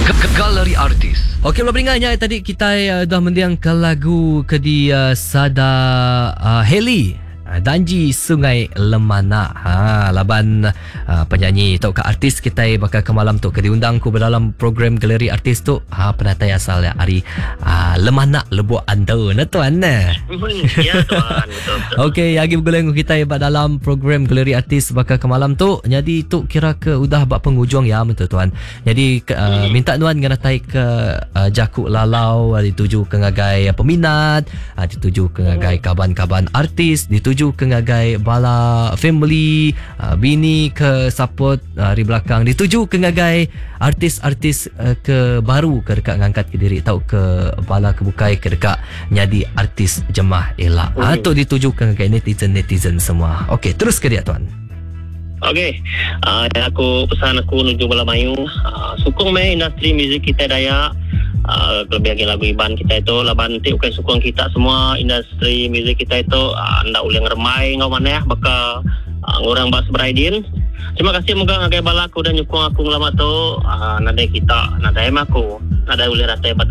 Galeri Artis. Okey bala peninga nya tadi kitai uh, dah mendiang ke lagu ke di uh, sada uh, Haley uh, Danji Sungai Lemana. Ha laban uh, penyanyi tauka artis kitai baka ke malam tu ke diundang ku dalam program Galeri Artis tu ha penatai asal ya ari uh, Lemana Lubok Antu ne tuan ne. Ya tuan, betul betul. Okey, agi begulai dengan kitai ba dalam program Galeri Artis baka ke malam tu. Jadi tu kira ke udah ba penghujung ya betul tuan. Jadi uh, minta nuan ngenatai ke uh, jaku lalau uh, dituju ke ngagai peminat, uh, dituju ke ngagai kaban-kaban artis, dituju ke ngagai bala family, uh, bini ke support uh, ari belakang, dituju ke ngagai artis-artis uh, ke baru ke deka ngangkat ke diri tau ke bala ke bukai ke deka nyadi artis jemah ila. Mm. tu dituju ke ngagai netizen-netizen semua. Okey, terus ke dia tuan. Okey. Uh, aku pesan aku nuju bala mayu, uh, sukung meh industri muzik kita Dayak. Uh, lebih lagi lagu Iban kita itu laban ti ukai sukung kita semua industri muzik kita itu uh, ndak ulih ngeremai ngau manah baka uh, ngurang ba seberai din. Terima kasih moga ngagai bala aku dah nyukung aku ngelama tu. Uh, nadai kita, nadai mah aku. Nadai ulih datai ba.